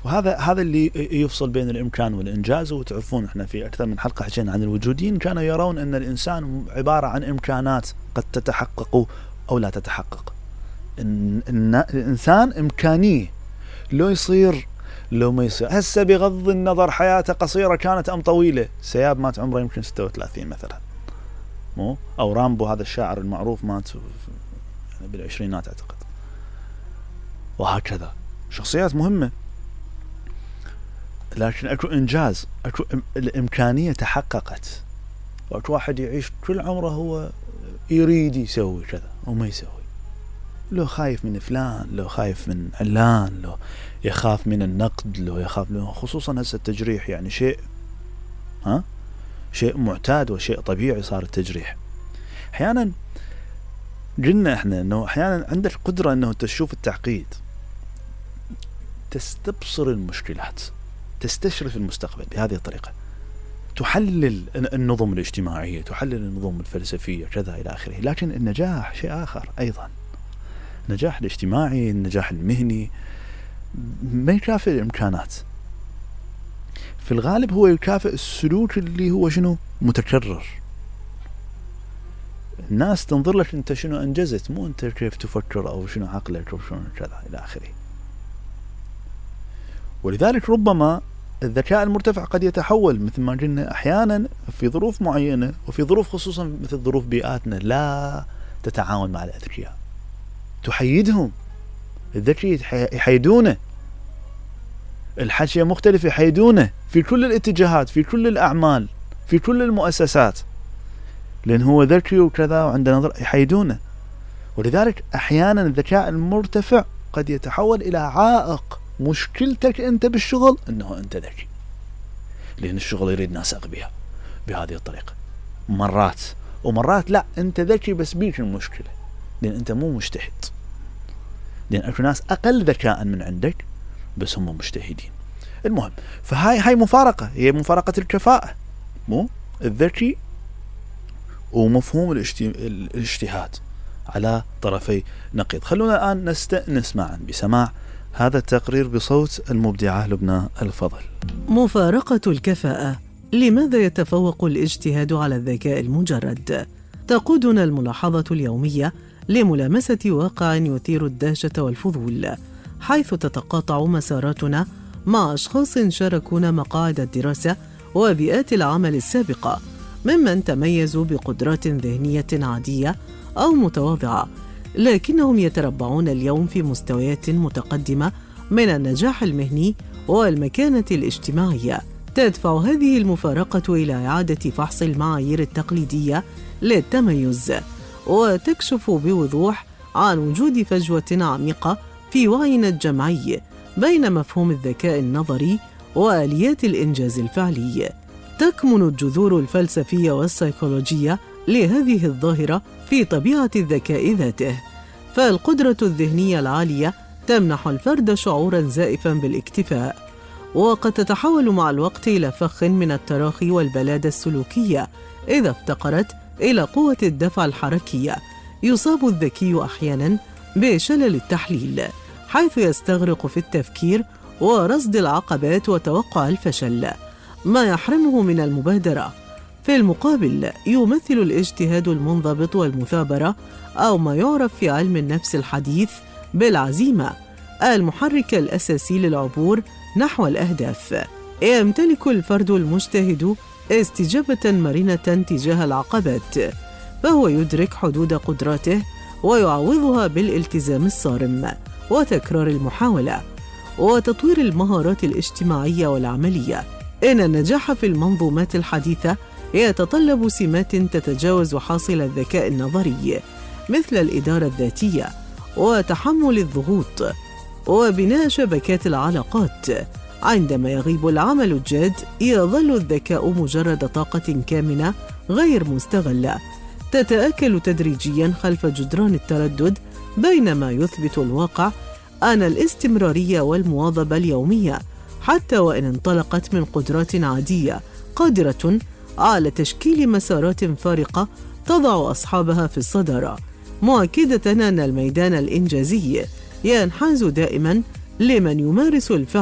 وهذا اللي يفصل بين الإمكان والإنجاز. وتعرفون احنا في أكثر من حلقة حكينا عن الوجوديين، كانوا يرون أن الإنسان عبارة عن إمكانات قد تتحقق أو لا تتحقق. إن الإنسان إمكانية، لو يصير لو ما يصير. هسه بغض النظر حياته قصيرة كانت أم طويلة، سياب مات عمره يمكن 36 مثلا، مو أو رامبو هذا الشاعر المعروف مات بالعشرينات أعتقد. وهكذا شخصيات مهمة، لكن أكو إنجاز، أكو الإمكانية تحققت. وأكو واحد يعيش كل عمره هو يريد يسوي كذا وما يسوي، لو خايف من فلان، لو خايف من علان، لو يخاف من النقد، لو يخاف خصوصا هسه التجريح يعني شيء معتاد وشيء طبيعي صار التجريح. أحيانا قلنا احنا انه احيانا عندك قدرة انه تشوف التعقيد، تستبصر المشكلات، تستشرف المستقبل بهذه الطريقة، تحلل النظم الاجتماعية، تحلل النظم الفلسفية كذا إلى آخره. لكن النجاح شيء آخر أيضا. النجاح الاجتماعي، النجاح المهني ما يكافئ الإمكانات، في الغالب هو يكافئ السلوك اللي هو شنو متكرر. الناس تنظر لك أنت شنو أنجزت، مو أنت كيف تفكر أو شنو عقلك أو شنو كذا إلى آخره. ولذلك ربما الذكاء المرتفع قد يتحول مثل ما قلنا أحيانا في ظروف معينة، وفي ظروف خصوصا مثل ظروف بيئاتنا لا تتعاون مع الأذكياء، تحيدهم. الذكي يحيدونه، الحاشية مختلف يحيدونه في كل الاتجاهات، في كل الأعمال، في كل المؤسسات، لأن هو ذكي وكذا وعنده نظر، يحيدونه. ولذلك أحيانا الذكاء المرتفع قد يتحول إلى عائق. مشكلتك أنت بالشغل أنه أنت ذكي، لأن الشغل يريد ناس أغبياء بهذه الطريقة مرات، ومرات لا أنت ذكي بس بيك المشكلة لأن أنت مو مجتهد، لأن أكو ناس أقل ذكاء من عندك بس هم مجتهدين. المهم، فهاي مفارقة، هي مفارقة الكفاءة، مو الذكي ومفهوم الاجتهاد على طرفي نقيض. خلونا الآن نستأنس معا بسماع هذا التقرير بصوت المبدعة لبنى الفضل. مفارقة الكفاءة. لماذا يتفوق الاجتهاد على الذكاء المجرد؟ تقودنا الملاحظة اليومية لملامسة واقع يثير الدهشة والفضول، حيث تتقاطع مساراتنا مع أشخاص شاركونا مقاعد الدراسة وبيئات العمل السابقة، ممن تميزوا بقدرات ذهنية عادية أو متواضعة، لكنهم يتربعون اليوم في مستويات متقدمة من النجاح المهني والمكانة الاجتماعية. تدفع هذه المفارقة إلى إعادة فحص المعايير التقليدية للتميز، وتكشف بوضوح عن وجود فجوة عميقة في وعينا الجمعي بين مفهوم الذكاء النظري وآليات الإنجاز الفعلي. تكمن الجذور الفلسفية والسيكولوجية لهذه الظاهرة في طبيعة الذكاء ذاته، فالقدرة الذهنية العالية تمنح الفرد شعوراً زائفاً بالاكتفاء، وقد تتحول مع الوقت إلى فخ من التراخي والبلادة السلوكية إذا افتقرت إلى قوة الدفع الحركية. يصاب الذكي أحياناً بشلل التحليل، حيث يستغرق في التفكير ورصد العقبات وتوقع الفشل، ما يحرمه من المبادرة. في المقابل، يمثل الاجتهاد المنضبط والمثابرة، أو ما يعرف في علم النفس الحديث بالعزيمة، المحرك الأساسي للعبور نحو الأهداف. يمتلك الفرد المجتهد استجابة مرنة تجاه العقبات، فهو يدرك حدود قدراته ويعوضها بالالتزام الصارم وتكرار المحاولة وتطوير المهارات الاجتماعية والعملية. إن النجاح في المنظومات الحديثة يتطلب سمات تتجاوز حاصل الذكاء النظري، مثل الإدارة الذاتية وتحمل الضغوط وبناء شبكات العلاقات. عندما يغيب العمل الجاد، يظل الذكاء مجرد طاقة كامنة غير مستغلة تتآكل تدريجياً خلف جدران التردد، بينما يثبت الواقع أن الاستمرارية والمواظبة اليومية، حتى وإن انطلقت من قدرات عادية، قادرة على تشكيل مسارات فارقة تضع أصحابها في الصدارة، مؤكدة أن الميدان الإنجازي ينحاز دائماً لمن يمارس الفعل